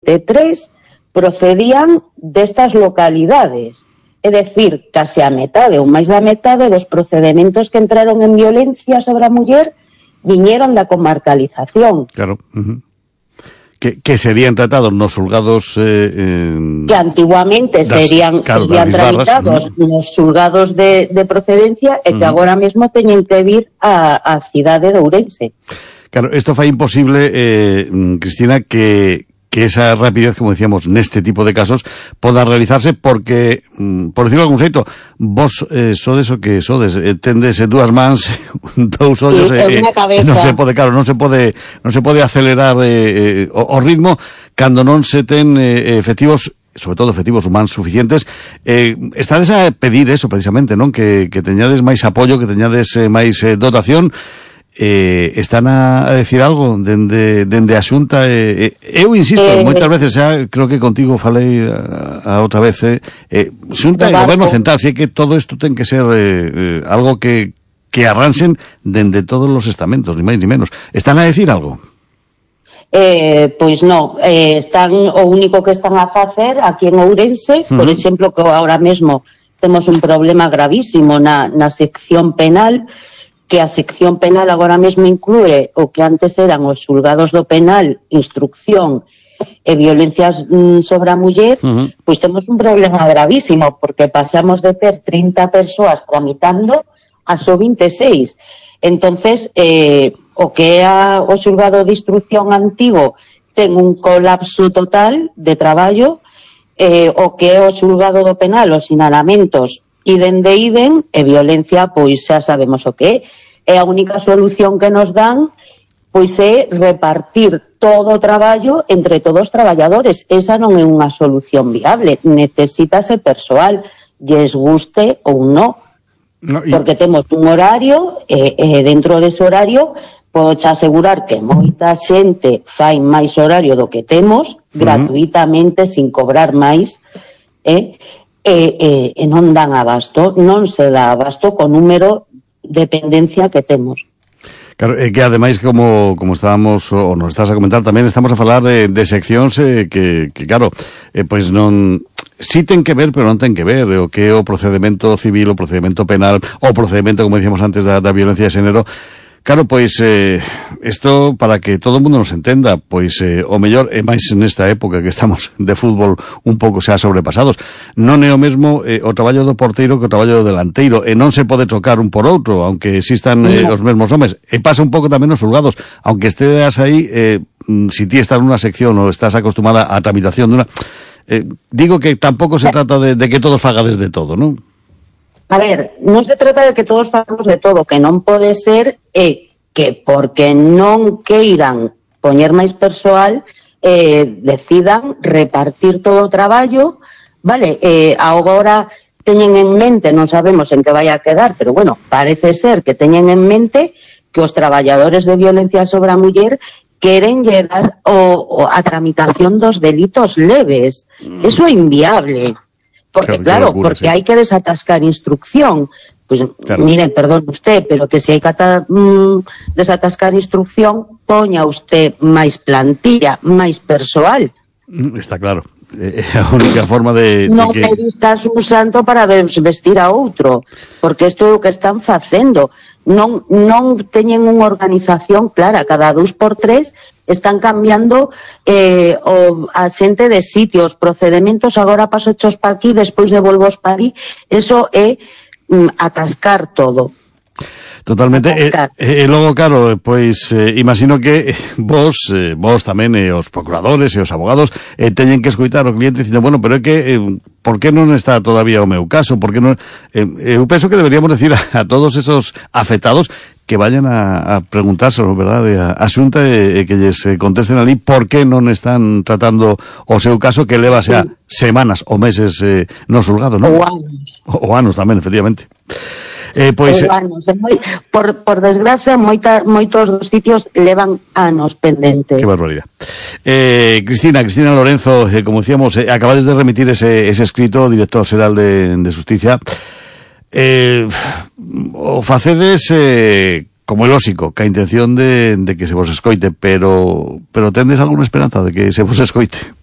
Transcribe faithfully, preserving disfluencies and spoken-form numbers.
solamente tres procedían destas localidades. É dicir, case a metade ou máis da metade dos procedementos que entraron en violencia sobre a muller viñeron da comarcalización. Claro. Uh-huh. Que, que serían tratados nos xulgados... Eh, eh, que antiguamente das, serían, claro, serían tramitados uh-huh. nos xulgados de, de procedencia e que uh-huh. agora mesmo teñen que vir a, a cidade de Ourense. Claro, isto fai imposible, eh, Cristina, que... que esa rapidez, como decíamos, neste tipo de casos poda realizarse porque, por decirlo de algún xeito, vos eh, sodes o que sodes, eh, tendes eh, dúas mans, dous ollos, sí, eh, eh, non se pode, claro, non se pode non se pode acelerar eh, eh, o, o ritmo cando non se ten eh, efectivos, sobre todo efectivos humanos suficientes. Eh, estades a pedir eso precisamente, non? Que, que teñades máis apoio, que teñades eh, máis eh, dotación. Eh, están a, a decir algo dende, dende a Xunta. Eh, eh, eu insisto, eh, moitas veces xa, creo que contigo falei a, a outra vez, eh, eh, Xunta e Goberno Central, si que todo isto ten que ser eh, eh, algo que, que arranxen dende todos os estamentos, ni máis ni menos. Están a decir algo? Eh, pois non, eh, están, o único que están a facer aquí en Ourense, uh-huh. por exemplo, que ahora mesmo temos un problema gravísimo na, na sección penal, que a sección penal agora mesmo inclúe o que antes eran os xulgados do penal, instrucción e violencias mm, sobre a muller, uh-huh. pois temos un problema gravísimo, porque pasamos de ter trinta persoas tramitando a só vinte e seis. Entonces, eh, o que é a, o xulgado de instrucción antigo ten un colapso total de traballo, eh, o que é o xulgado do penal, os sinalamentos iden de iden, e violencia, pois xa sabemos o que é. E a única solución que nos dan, pois é repartir todo o traballo entre todos os traballadores. Esa non é unha solución viable. Necesítase persoal, lles guste ou non. No, y... Porque temos un horario, e, e dentro dese horario, podes asegurar que moita xente fai máis horario do que temos, uh-huh. gratuitamente, sin cobrar máis, eh? E, e, e non dan abasto, non se dá abasto co número de dependencia que temos. Claro, é que ademais, como, como estábamos, ou nos estás a comentar tamén, estamos a falar de, de seccións eh, que, que, claro, eh, pois non... Sí ten que ver, pero non ten que ver o que é o procedimento civil, o procedimento penal, o procedimento, como decíamos antes, da, da violencia de xénero. Claro, pois, eh, isto, para que todo o mundo nos entenda, pois, eh, o mellor, é máis nesta época que estamos de fútbol un pouco xa sobrepasados, non é o mesmo eh, o traballo do porteiro que o traballo do delanteiro, e non se pode trocar un por outro, aunque existan eh, os mesmos homes, e pasa un pouco tamén nos xulgados, aunque esteas aí, eh, si ti estás nunha sección ou estás acostumada á tramitación dunha, eh, digo que tampouco se trata de, de que todos fagades de todo, non? A ver, non se trata de que todos fagamos de todo, que non pode ser é que porque non queiran poñer máis persoal, eh, decidan repartir todo o traballo, vale, eh, agora teñen en mente, non sabemos en que vai a quedar, pero bueno, parece ser que teñen en mente que os traballadores de violencia sobre a muller queren llegar o, o a tramitación dos delitos leves. Mm. Eso é inviable. Porque claro, locura, porque sí. hai que desatascar instrucción. Pues claro. Miren, perdón usted, pero que se hai que ata, mm, desatascar instrucción, poña usted máis plantilla, máis persoal. Está claro. É a única forma de, de non que... Non pedirás un santo para vestir a outro, porque isto é o que están facendo. Non, non teñen unha organización clara, cada dous por tres están cambiando eh, o, a xente de sitios, procedementos, agora paso hechos pa aquí, despois devolvos pa ali. Eso é mm, atascar todo. Totalmente, e, e logo, claro, pois, eh, imagino que vos, eh, vos tamén, e eh, os procuradores e os abogados, eh, teñen que escoitar o cliente dicindo, bueno, pero é que, eh, por que non está todavía o meu caso? Por que non... Eh, eu penso que deberíamos decir a, a todos esos afectados que vayan a, a preguntárselo, verdade, a, a Xunta e, e que lles contesten ali por que non están tratando o seu caso que leva xa semanas ou meses eh, no xulgado, non? Ou anos. O, o anos tamén, efectivamente. Eh, pois, anos, moi, por, por desgracia, moita, moitos dos sitios levan anos pendentes. Que barbaridade. Eh, Cristina, Cristina Lorenzo, eh, como decíamos, eh, acabades de remitir ese, ese escrito, director xeral de, de Justicia. Eh, o facedes eh, como é lóxico, ca intención de, de que se vos escoite, pero pero tendes alguna esperanza de que se vos escoite?